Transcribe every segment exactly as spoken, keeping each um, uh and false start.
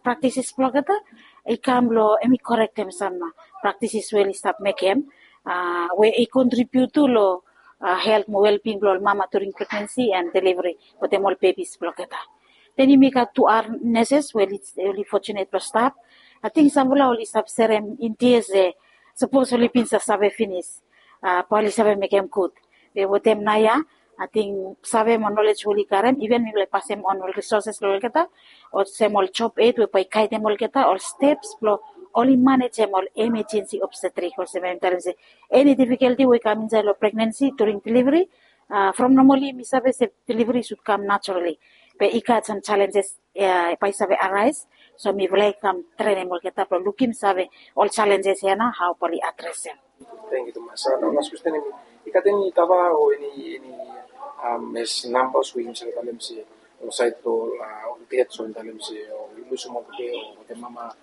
praktisis blong olgeta i kam long em i korektem sam praktisis we oli stap mekem, we i kontribiut tu long helt mo welbing blong ol mama during pregnansi and delivari wetem ol bebis blong olgeta. Den yumi gat tu ar neses we oli fotunet blong stap. Ating samfala oli stap serem india se sapos oli bin save finis, bae oli save mekem gud. Be wetem naoia ating save mo nolej we oli karem, iven mipela i pasem on ol risoses long olgeta olsem ol job ed we bae i gaidem olgeta ol steps blong oli manejem ol emejensi obstetrik olsem em talem se eni difikelti we i kam insait long pregnansi during delivari. From nomali mi save se delivari sud kam naturali, be i gat sam jalenjes bae i save arais. So mipela i kam trenem olgeta blong lukim save ol jalenjes ya na hau bae oli adresem. Thank you tumas. Las question, em i gat eni data o eni eni mes nambas we yumi save talem se o sait o ol det so em talem se o lusim ol bebe o wetem mama,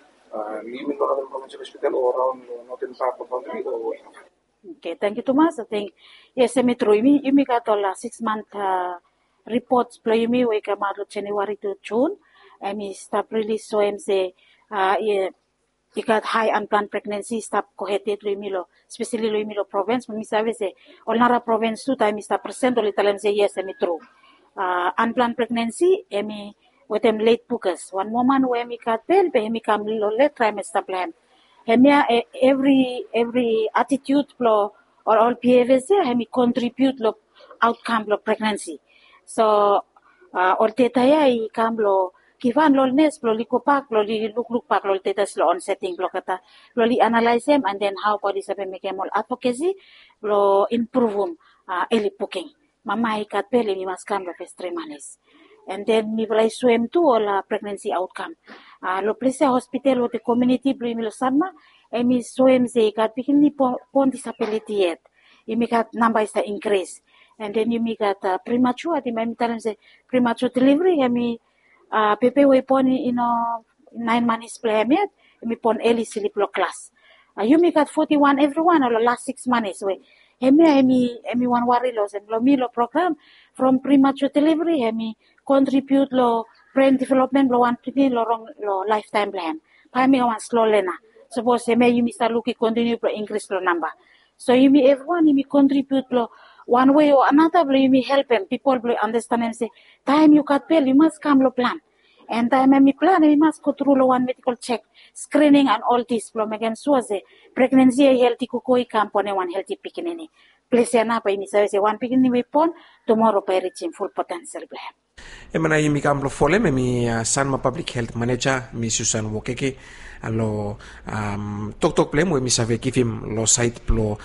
yumi long northern provincial hospital o raun long northern part of country o. Okay, thank you tumas. I think yes, em i tru. Yumi gat ol six month reports blong yumi we i kamaot long January to June, em i stap rilis soem se i gat hai unplanned pregnancy i stap gohed yet long yumi long, especially long yumi long provins. Be mi save se ol nara provins tu taem mi stap present oli talem se yes, em i tru. Unplanned pregnancy em i wetem late bookers. Wan woman we em i gat bel be em i kam long late trimester blong em. Hemia evri evri attitude blong ol ol behaviors ya em i contribute long outcome blong pregnancy. So ol data ya i kam long givhan long ol nes blong oli go bak blong oli lukluk bak long ol data long on setting blong olgeta blong oli analaisim and then hau bae oli save mekem ol advocacy blong impruvum early booking. Mama i gat bel em i mas kam long fes tri manis. And then mipela i soem tu ol pregnansi autkam. Long ples ya hospital wetem komuniti blong yumi long sanma, em i soem se i gat pikinini bon disabiliti yet. Yumi gat namba i stap inkris. And then yumi gat primature, ating bai mi talem se primature delivery em i bebe we i bon i no naen manis blong em yet, em i bon eli slip long klas. Yumi gat foti wan evriwan long las siks manis we hemia em i wan wari long olsem long mi long program from primature delivery em i kontribiut long bren developmen blong wan pikinini long rong long laeftaem blong em. Bai em i wan slo lena. Sapos hemia yumi stap luk i kontiniu blong inkris long namba. So yumi evriwan yumi kontribiut long wan wei o anata blong yumi helpem pipol blong andastanem se taem yu gat bel yu mas kam long plan. And taem em i plan em i mas go tru long wan medikal jek, skrining and ol dis blong mekem sua se pregnansi ya i helti gogo i kam bonem wan helti pikinini. Ples ya nao bae yumi save se wan pikinini we i bon tumora bae i rijim ful potensel blong em. Em ya nao yumi kam blong folem em i sanma pablik helt maneja mi susan wokeke long toktok blong em we mi save givim long sait blong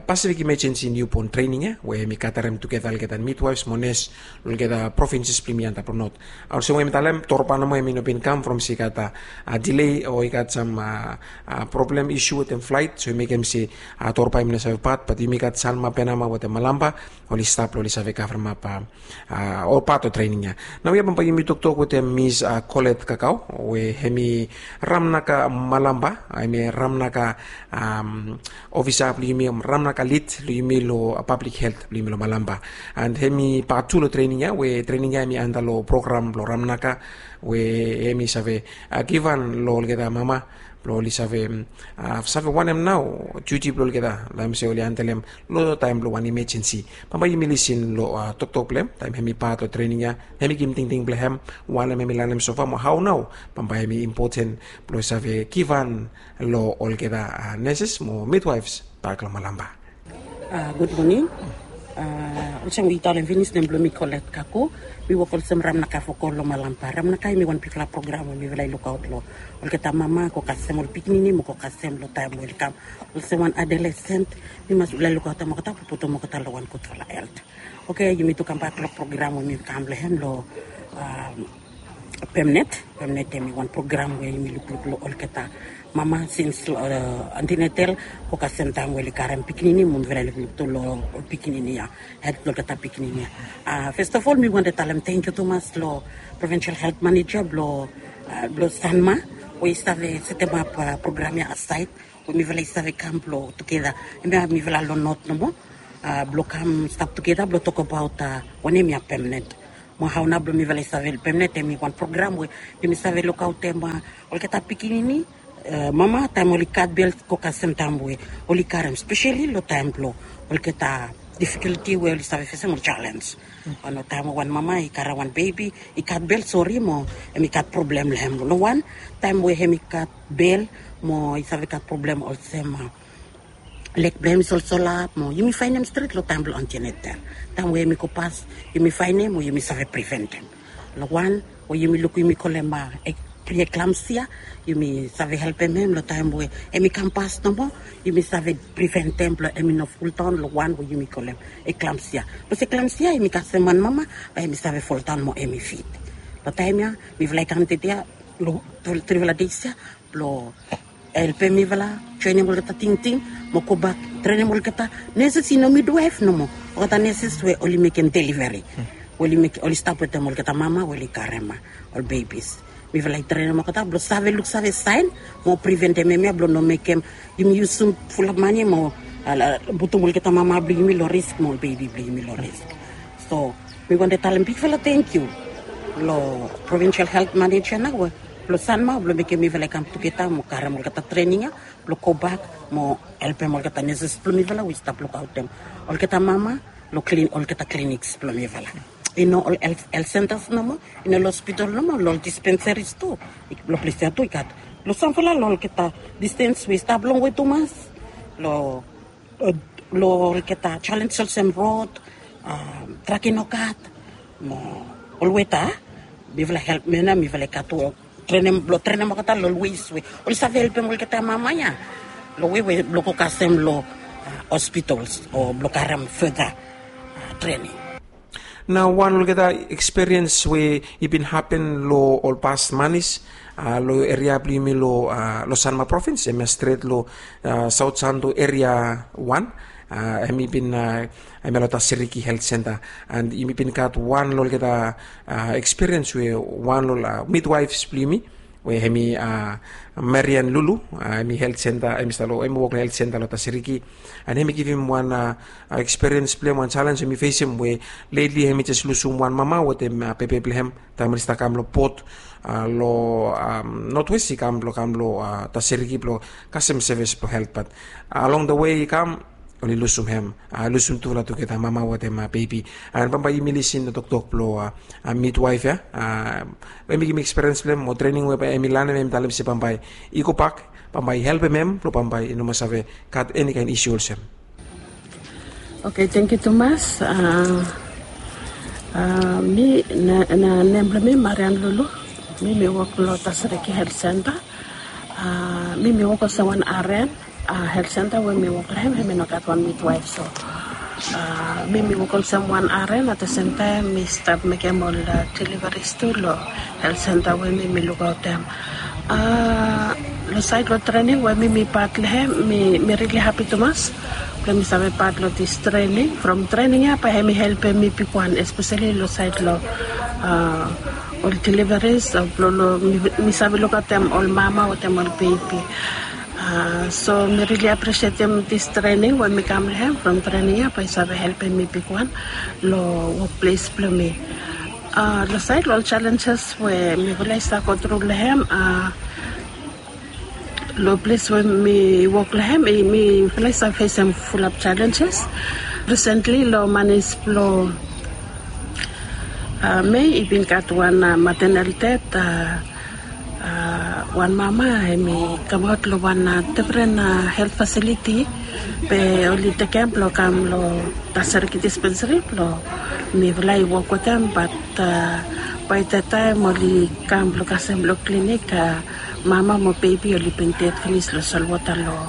pasifik imejensi niubon trening ya we mi gatarem tugeta olgeta midwaifs mo nes long olgeta provinsis blong yumi antap long not. Olsem we mi talem torba nomo em i no bin kam from se i gat dilei o i gat sam problem isu wetem flait so i mekem se torba em i no save pat bat yumi gat salma benama wetem malamba oli stap long oli save kavremap ol pat o trening ya. Nau ya bambae yumi toktok wetem mis kolet kakao we em i ramnaka malamba em i ramnaka ofisa blong yumi ramnaka lid long yumi long pablik helt blong yumi long malamba. And em i pat tu long trening ya we trening ya em i anda long program blong ramnaka we em i save givhan long olgeta mama blong oli save save wanem nao juti blong olgeta long em se oli andelem long taem blong wan imejensi. Bambae yumi lisin long toktok blong em taem em i pat o trening ya em i givim tingting blong em wanem em i lanem sofa mo hao nao bambae em i impoten blong save givhan long olgeta neses mo midwaifs bak long malamba. Gud moning. Olsem we yu talem finis nem blong mi kolet kako. Mi wok olsem ramnaka foko long malamba ramnaka em i wan bikpela program we mifala i lukaot long olgeta mama go kasem ol pikinini mo go kasem long taem we oli kam olsem wan adolesent. Mi mas ula lukaotem olgeta blong putum olgeta long wan gudfala helt. Oke yumi tu kambak long program we mi kam long hem long pemnet. Pemnet em i wan program we yumi lukluk long olgeta mama sins long antinetel go kasem taem we oli karem pikinini mo mifala i lukluk tu long ol pikinini ya. Helt blong olgeta pikinini ya. Festafol mi wante talem tengkiu tumas long provinsal helt maneja blong blong sanma we i save setemap program ya asaet we mifala i save kam blong tugeta. Em ya mifala long not nomo blong kam stap tugeta blong tokabaot wanem ya pemnet. Mo hao nao blong mifala i save helpem nao, hemi wan program we yumi save lukaotem olgeta pikinini mama taem oli gat bel, go kasem taem we oli karem, speseli long taem blong olgeta difikulti we oli save fesem, ol jalenj. Ono taem we wan mama i karem wan bebi, i gat bel, sori, mo hemi gat problem long hem. Long wan taem we hemi gat bel mo i save gat problem olsem, leg blong hem i solsolap, mo yumi faenem stret long taem blong antenatal. Taem we hemi go pas, yumi faenem mo yumi save priventem. Long wan we yumi lukim, yumi kolem pre-eclampsia, yumi save helpem hem long taem we hemi kam pas nomo, yumi save priventem blong hemi no foldaon long wan we yumi kolem eclampsia. Bikos eclampsia hemi kasem wan mama bae hemi save foldaon mo hemi fit. Long taem ya mifala i kam tede ya, long trifala dei ya, blong helpem mifala joenem olgeta tingting mo gobak trenem olgeta neses, i no midwaef nomo, olgeta neses we oli mekem deliveri, we oli stap wetem olgeta mama we oli karem ol bebis. Mifala i trenem olgeta blong save luksave saen mo priventem hemia blong no mekem yumi yusum fulap mane mo putum olgeta mama blong yumi long risk mo ol bebi blong yumi long risk. So mi wantem talem bigfala tangkiu long Provincial Health Manager nao we blong Sanma blong mekem mifala i kam tugeta mo karem olgeta trening ya blong gobak mo helpem olgeta neses blong mifala we i stap lukaotem olgeta mama long olgeta kliniks blong mifala. I no ol health centers nomo, i no long hospital nomo, long ol dispensaries tu, long ples ya tu i gat. Long samfala long olgeta distens we i stap longwe tumas, long long olgeta jalenj olsem rod, trak i no gat, mo ol weta, mifala helpem nao, mifala i gat tu trenem, blong trenem olgeta long ol wes we oli save helpem olgeta mama ya long wei we blong go kasem long hospitals o blong karem further trening. Nao wan olgeta ekspiriens we i bin hapen long ol pas manis long eria blong yumi long Sanma provins, hemia stret long Saot Santo eria wan, hemi bin, hemia long Tasiriki Health Centre. And yumi bin gat wan long olgeta ekspiriens we wan long midwaefs blong yumi, we hemi Marian Lulu, hemi health centre, hemi stap long, hemi wok long health centre long Tasiriki. And hemi givim wan ekspiriens blong hem, wan jalenj hemi fesem we lately hemi jes lusum wan mama wetem bebe blong hem taem oli stap kam long bot long Northwest, i kam blong kam long Tasiriki blong kasem sevis blong health, bat along the way i kam oli lusum hem, lusum tufala tugeta, mama wetem bebi. And bambae yumi lisin long toktok blong midwaef ya, we hemi givim ekspiriens blong hem mo trening we bae hemi lanem, hemi talem se bambae i gobak, bambae i helpem hem blong bambae i no mas save gat eni kaen isu olsem. Oke, tangkiu tumas. Mi, nem blong mi Marian Lulu. Mi mi wok long Tasiriki Health Centre. Mi mi wok olsem wan aren. Health centre we mi wok long hem, hemi no gat wan midwaef, so mi mi wok olsem wan aren, at the same time mi stap mekem ol deliveries tu long health centre we mi mi lukaotem. Long saed long trening we mi mi pat long hem, mi mi rili hapi tumas blong mi save pat long dis trening. From trening ya bae hemi helpem mi bigwan, espeseli long saed long ol deliveries, blong mi save lukaotem ol mama wetem ol bebi. So mi rili apresietem dis trening we mi kam long hem. From trening ya bae i save helpem mi bigwan long wokples blong mi. Long saed long ol jalenjes we mifala i stap gotru long hem, long ples we mi wok long hem, mifala i stap fesem fulap jalenjes. Risentli long manis blong Mei i bin gat wan maternal death, wan mama hemi kamaot long wan difren health facility, be oli tekem blong kam long Tasiriki Dispensary blong mifala i wok wetem, bat bae the taem oli kam blong kasem long klinik, mama mo bebi oli bin ded finis long solwota long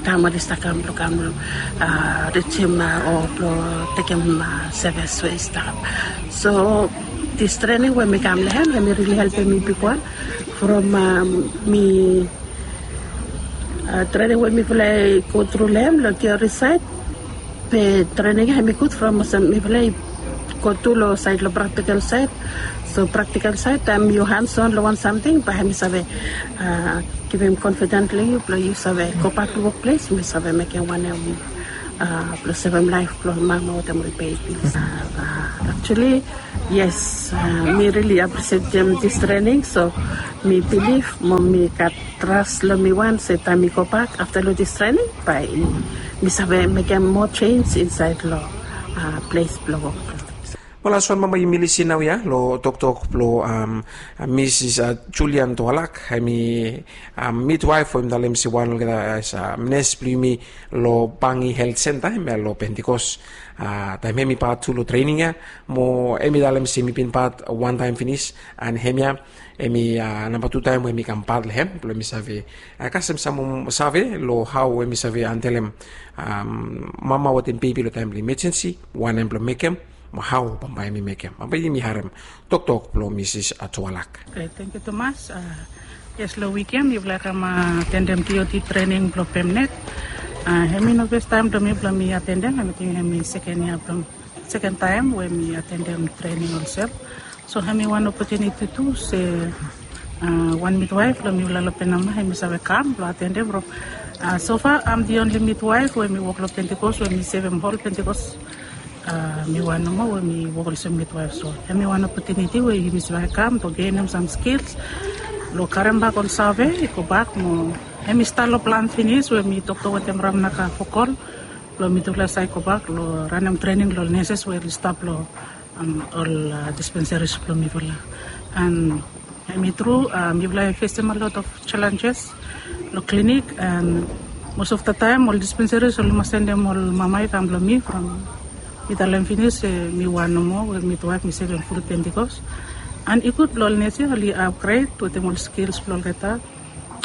taem oli stap kam blong kam rijim o blong tekem sevis we i stap. So dis trening we mi kam long hem, hemi rili helpem mi bigwan from mi trening we mifala i gotru long hem long tiori saed. Be trening ya hemi gud from olsem mifala i go tu long saed long praktikal saed. So praktikal saed taem yu hands on long wan samting, bae hemi save givim konfiden long yu blong yu save gobak long wokples, mi save mekem wanem blong sevem laef blong mama wetem ol bebis. Actually Yes, mi rili aprisietim dis trening, so mi bilif mo mi gat tras long mi wan se taem mi gobak afta long dis trening, bae mi save mekem moa jenis insaed long ples blong wok. Mo las wan mama yumi lisin naoia long toktok blong Misis Julian Toalak, hemi midwaef we mi talem se wan olgeta as nes blong yumi long Bangi Helt Senta hemia long Pentikos. Taem hemi pat tu long trening ia, mo hemi talem se mi bin pat wan taem finis, and hemia hemi namba tu taem we mi kam pat long hem blong mi save kasem sam save long hao we mi save handelem mama wetem bebi long taem blong imejensi, wanem blong mekem, mo hao bambae mi mekem. Bambae yumi harem toktok blong Misis Toalak. Tangkiu tumas. Yes, long wik ia mifala i kam atendem T O T trening blong Pemnet. Hemi no fes taem blong mi blong mi atendem, hemi ting hemi seken ia blong seken taem we mi atendem trening olsem. So hemi wan opotuniti tu se wan midwaef blong mifala long Penama hemi save kam blong atendem from. So far am di onli midwaef we mi wok long Pentikos we mi sevem hol Pentikos. Mi wan nomo we mi wok olsem midwaef, so hemi wan opotuniti we yumi save kam blong genem sam skils blong karembak ol save i gobak mo hemi stat long plan finis we mi toktok wetem Ramnaka Fokol blong mitufala save gobak long ranem trening long neses we oli stap long ol dispensaris blong mifala. And hemi tru, mifala i fesem a lot of challenges long klinik, and most of the time ol dispensaris oli mas sendem ol mama i kam long mi from mi talem finis se mi wan nomo we midwaef mi sevem ful Pentikos. And i gud blong ol nes ia oli upgrade wetem ol skils blong olgeta.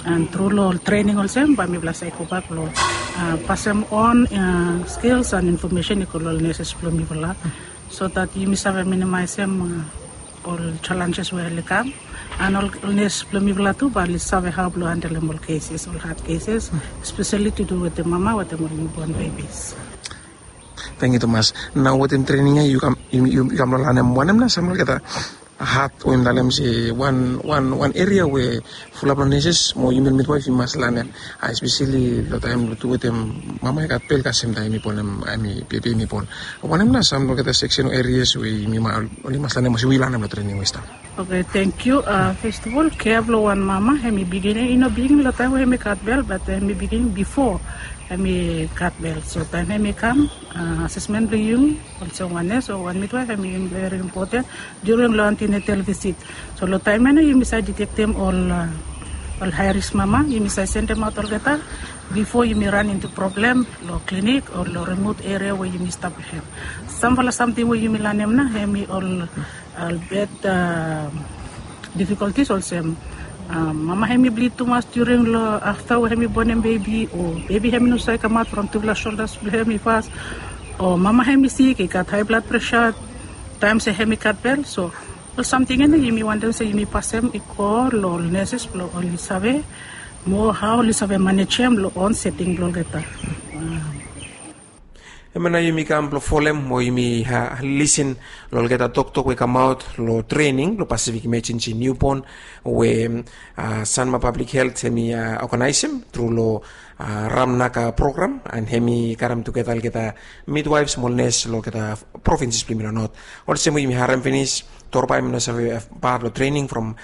And tru long ol trening olsem bae mifala save gobak long pasem on skils and infomesen i go long ol neses blong mifala, so that yumi save minimaesem ol challenges we oli kam. And ol nes blong mifala tu bae oli save hao blong handelem ol keses, ol had keses, espeseli tu du wetem mama wetem ol niubon bebis. Tangkiu tumas. Nao wetem trening ia yu kam long lanem wanem nao sam olgeta had we mi talem se wan wan wan eria we fulap long neses mo yumi midwaef i mas lanem, espeseli long taem long tu wetem mama i gat bel kasem taem i bonem, hemi bebi hemi bon. Wanem nao sam olgeta seksen o erias we yumi oli mas lanem olsem we yu lanem long trening we i stap? Oke, tangkiu. Fes of ol, kea blong wan mama hemi bigin, i no bigin long taem we hemi gat bel, bat hemi bigin bifo hemi gat bel. So taem hemi kam, asesmen blong yumi olsem wan nes o wan midwaef hemi veri impoten during long antenatal visit. So long taem ia nao yumi save ditektem ol ol hae risk mama, yumi save sendemaot olgeta bifo yumi ran intu problem long klinik o long rimot eria we yumi stap long hem. Samfala samting we yumi lanem nao hemi ol bad difikoltis olsem mama hemi blid tumas during long afta we hemi bonem bebi, o bebi hemi no save kamaot from tufala soldas blong hemi fas, o mama hemi sik, i gat hae blad presa taem se hemi gat bel. So ol samting ia nao yumi wantem se yumi pasem i go long ol neses blong oli save mo hao oli save manejem long on seting blong olgeta. Hemia nao yumi kam blong folem mo yumi lisin long olgeta toktok we i kamaot long trening blong Pacific Emergency Newborn we Sanma Public Health hemi oganaesem tru long Ramnaka program, and hemi karem tugeta olgeta midwaefs mo ol nes long olgeta provinses blong yumi long not. Olsem we yumi harem finis, Torba hemi no save pat long trening from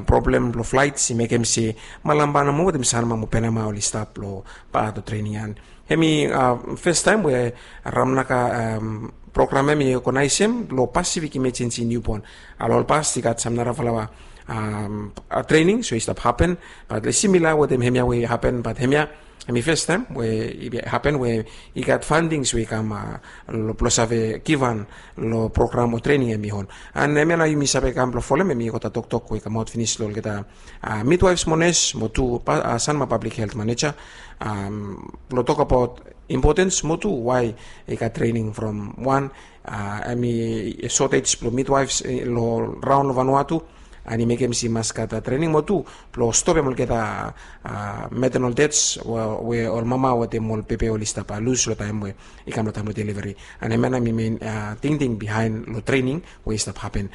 problem blong flaets i mekem se Malampa nomo wetem Sanma mo Penama oli stap long pat long trening ia. Hemi fes taem we Ramnaka program hemi oganaesem long Pacific Emergency Newborn. Long ol past i gat sam narafala trening we i stap hapen, bat simila wetem hemia we i hapen, bat hemia hemi fes taem we i hapen we i gat fandings we i kam blong save givhan long program o trening hemi hol. And hemia nao yumi save kam blong folem, hemi olgeta toktok we i kamaot finis long olgeta midwaefs mo nes mo tu Sanma Public Health Maneja blong tokbaot impotens mo tu wae i gat trening from wan hemi sotej blong midwaefs long raon long Vanuatu, and i mekem se i mas gat trening mo tu blong stopem olgeta maternal deaths we ol mama wetem ol bebe oli stap lus long taem we i kam long taem blong delivari. And hemia nao hemi men tingting bihaen long trening we i stap hapen.